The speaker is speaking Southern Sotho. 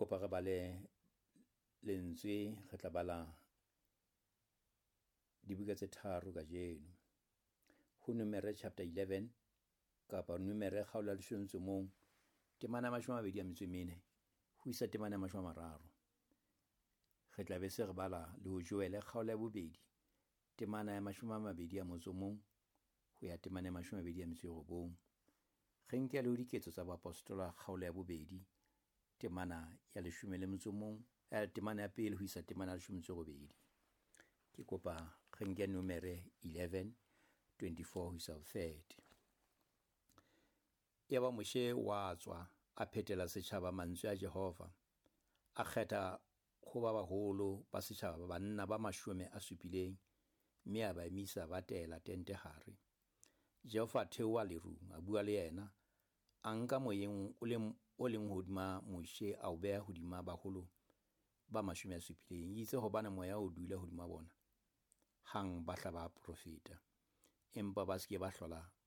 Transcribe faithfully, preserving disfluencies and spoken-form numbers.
Ke kopa re bale lentswe, re tla bala dibuka tse tharo kajeno. Ho Numere chapter eleven kapa Numere kgaolo ya leshome metso mong, temana ya mashome a mabedi a metso e mene ho isa temana ya mashome a mararo. Re tla be se re bala le ho Joele kgaolo ya bobedi, temana ya mashome a mabedi a motso mong ho ya temana ya mashome a mabedi a metso e robong. Re nke le ho Diketso tsa Baapostola kgaolo ya bobedi, temana ya leshome le motso mong, eh, temana ya pele ho isa temana ya leshome metso e robedi. Ke kopa re nke Numere eleven twenty-four ho isa ho thirty. Yaba Moshe wa tswa, a phetela setjhaba mantswe a Jehova. A kgetha ho ba baholo ba setjhaba banna ba mashome a supileng, mme a ba emisa ba teela tente hare. Jehova a theoha lerung, a bua le yena, a nka moyeng o leng o leng hodima Moshe, a o beha hodima baholo ba mashome a supileng. Itse hobane moya o dula hodima bona, hang ba hla ba profeta, empa ba se ke ba hlola